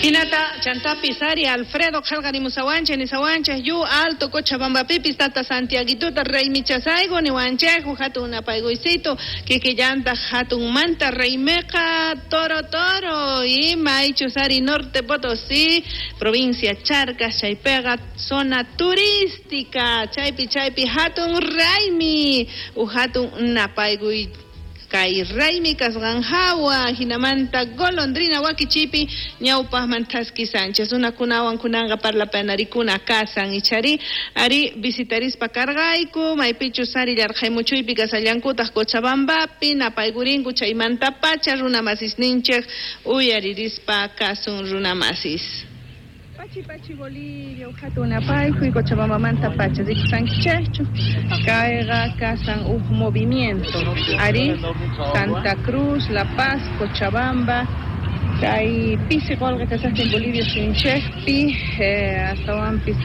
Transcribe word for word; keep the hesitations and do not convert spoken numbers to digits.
Hinata chantapis ari Alfredo qhelqarimusawanchej nisawanchej yu Alto Cochabambapipis tata Santiaguituta raymichasayku niwanchej hatun napaykuysito kikillantaq hatunmanta raymeqa Toro Toro y maychus ari Norte Potosí, provincia Charcas, chaypeqa zona turística, chaypi chaypi hatun raymi u hatun napaykuy kay raymi kasqanhawa hinamanta golondrina wakichipi ñawpaqman Thaski Sánchez runakunawan kunanqa parlapanarikuna kasan ichari ari visitarispa karqayku maypichus ari llarqaymuchuypi kasallankutaq Cochabambapi napaykurinku chaymanta pacha runa masisninchik uyaririspa kasun runa masis. Pachi Pachi Bolivia, hatun napaykuy Cochabambamanta pacha rikusankichikchu kayqa kasan uj movimiento ari Santa Cruz, La Paz, Cochabamba kay pisi qolqe kasaqtin Bolivia suyunchikpi eh, astawanpis.